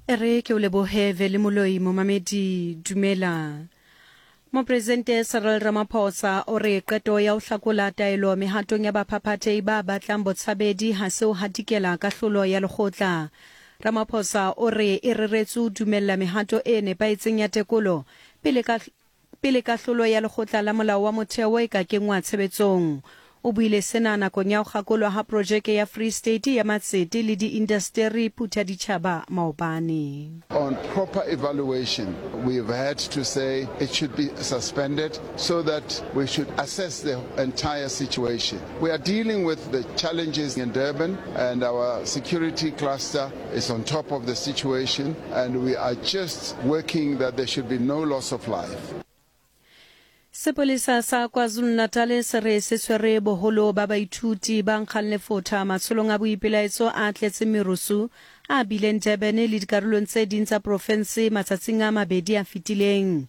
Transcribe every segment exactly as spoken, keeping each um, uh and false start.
E re ke o lebohe Vele Moloi momamedi dumela. Mopresidente Cyril Ramaphosa o re qeto ya ho hlakola taelo mehatong ya baphaphathehi ba batlang botshabedi ha se ho hatikela kahlolo ya lekgotla. Ramaphosa o re e reretswe ho dumella mehato e nepahetseng ya tekolo pele ka pele kahlolo ya lekgotla la molao wa motheo e ka kengwa tshebetsong. O buile sena nakong ya ho kgakolwa ha projeke ya Free State ya matsete le diindasteri Phuthaditjhaba maobane. On proper evaluation, we've had to say it should be suspended so that we should assess the entire situation. We are dealing with the challenges in Durban, and our security cluster is on top of the situation, and we are just working that there should be no loss of life. Sepolesa sa KwaZulu-Natal se re se tshwere boholo ba baithuti ba nkgang lefotha matsholong a boipelaetso a tletseng merusu a bileng Durban le dikarolong tse ding tsa profense matsatsing a mabedi a fetileng.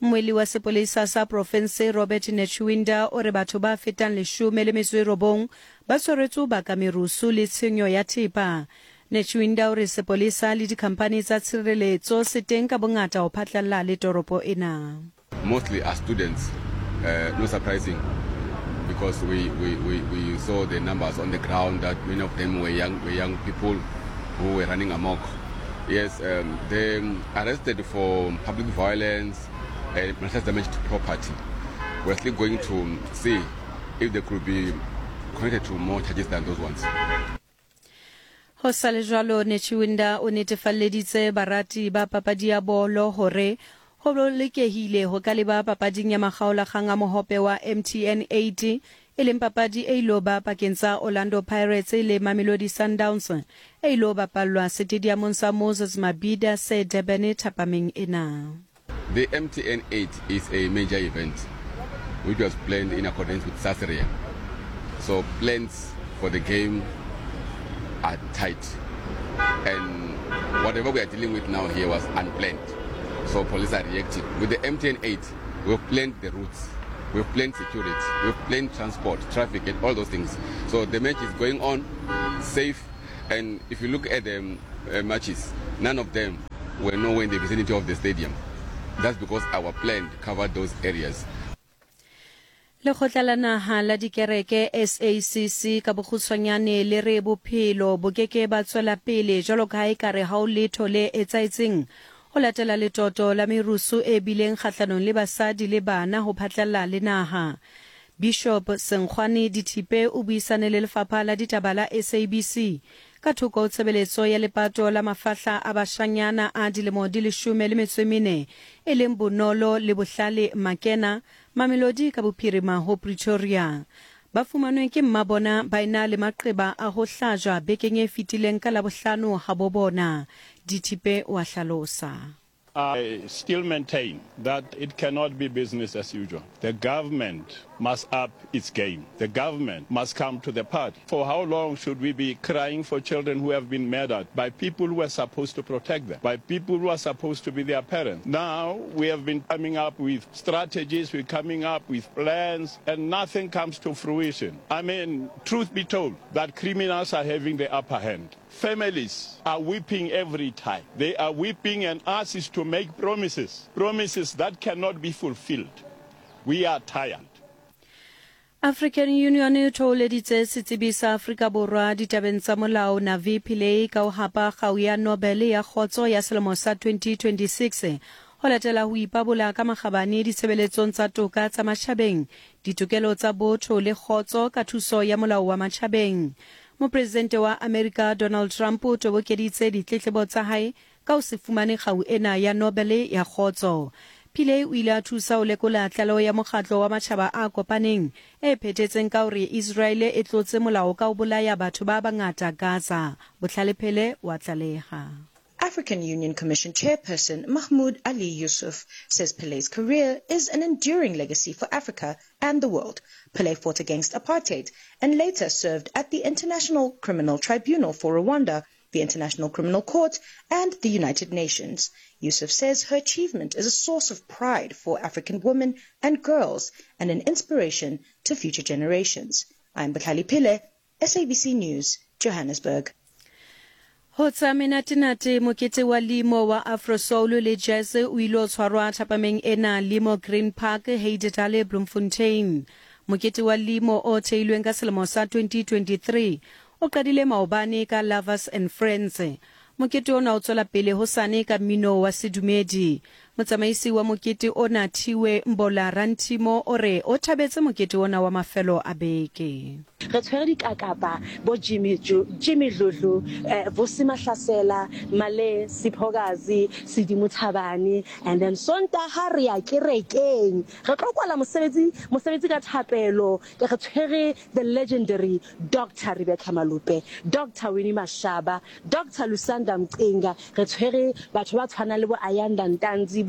Mmuelli wa sepolesa sa profense Robert Netshiunda o re batho ba fetang leshome le metso e robong ba tshwaretswe ho baka merusu le tshenyo ya thepa. Netshiunda o re sepolesa le dikhamphani tsa tshireletso se teng ka bongata ho phatlalla le toropo ena. Mostly are students, uh, no surprising, because we, we, we, we saw the numbers on the ground that many of them were young, were young people who were running amok. Yes, um, they arrested for public violence and malicious damage to property. We're still going to see if they could be connected to more charges than those ones. Ho sa le jwalo, Netshiunda o netefalleditse barati ba papadi ya bolo hore ho bolokehile ho ka leba papading ya makgaolakgang a mohope wa M T N eight e leng papadi e ilo ba pakeng tsa Orlando Pirates le Mamelodi Sundowns e ilo bapallwa setediamong sa Moses Mabhida se Durban thapameng ena. The M T N eight is a major event which was planned in accordance with SASRIA. So plans for the game are tight, and whatever we are dealing with now here was unplanned. So police are reacting. With the M T N eight, we've planned the routes, we've planned security, we've planned transport, traffic, and all those things. So the match is going on safe, and if you look at the uh, matches, none of them were nowhere in the vicinity of the stadium. That's because our plan covered those areas. Lekgotla la naha la dikereke S A C C ka bokgutshwanyane le re bophelo bo keke ba tswela pele jwalo ka ha ekare ha ho letho le etsahetseng ho latela letoto la merusu e bileng kgahlanong le basadi le bana ho phatlalla le naha. Bishop Senkgwane Dithipe o buisane le lefapha la ditaba la S A B C ka thoko ho tshebeletso ya lepato la mafahla a bashanyana a dilemo di leshome le metso e mene e leng Bonolo le Bohlale Makena Mamelodi ka bophirima ho Pretoria. Ba fumanwe ke mmabona ba ena le maqeba a ho hlajwa bekeng e fetileng ka Labohlano ha bo bona. Dithipe wa hlalosa. I still maintain that it cannot be business as usual. The government must up its game. The government must come to the party. For how long should we be crying for children who have been murdered by people who are supposed to protect them, by people who are supposed to be their parents? Now we have been coming up with strategies, we're coming up with plans, and nothing comes to fruition. I mean, truth be told, that criminals are having the upper hand. Families are weeping every time. They are weeping, and us is to make promises, promises that cannot be fulfilled. We are tired. African Union e thoholeditse setsebi sa Afrika Borwa ditabeng tsa molao Navi Pillay ka ho hapa kgau ya Nobel ya kgotso ya selemo sa twenty twenty-six ho latela ho ipabola ka makgabane ditshebeletsong tsa toka tsa matjhabeng, ditokelo tsa botho le kgotso ka thuso ya molao wa matjhabeng. Mopresidente wa Amerika Donald Trump o tobokeditse ditletlebo tsa hae ka ho se fumane kgau ena ya Nobel ya kgotso. Pillay o ile a thusa ho lekola tlaleho ya mokgatlo wa matjhaba a kopaneng e phethetseng ka hore Israel e tlotse molao ka ho bolaya batho ba bangata Gaza. Bohlale Phele wa tlaleha. African Union Commission Chairperson Mahmoud Ali Youssouf says Pillay's career is an enduring legacy for Africa and the world. Pillay fought against apartheid and later served at the International Criminal Tribunal for Rwanda, the International Criminal Court, and the United Nations. Youssouf says her achievement is a source of pride for African women and girls and an inspiration to future generations. I'm Bohlale Phele, S A B C News, Johannesburg. Ho tsa menatenate mokete wa Limo wa Afro Soul le Jazz o ile o tshwarwa thapameng ena Limo Green Park Heidedal Bloemfontein. Mokete wa Limo o theilweng ka selemo sa twenty twenty-three o qadile maobane ka Lovers and Friends. Mokete ona o tswela pele hosane ka mmino wa sedumedi. Motsamaisi wa mokete ona Thiwe Mbola Rantimo o re o thabetse mokete ona wa mafelo a beke. Re tshwere dikakapa bo Jimmy Jimmy Dludlu, eh, Vusi Mahlasela, Male Siphokazi, Sedimo Thabane, and then Sontaha re ya kerekeng. Re tlo kwala mosebetsi mosebetsi ka thapelo. Re tshwere the legendary Doctor Rebecca Malupe, Doctor Winnie Mashaba, Doctor Lusanda Mcinga. Re tshwere batho ba tshwana le bo Ayanda Ntanzi,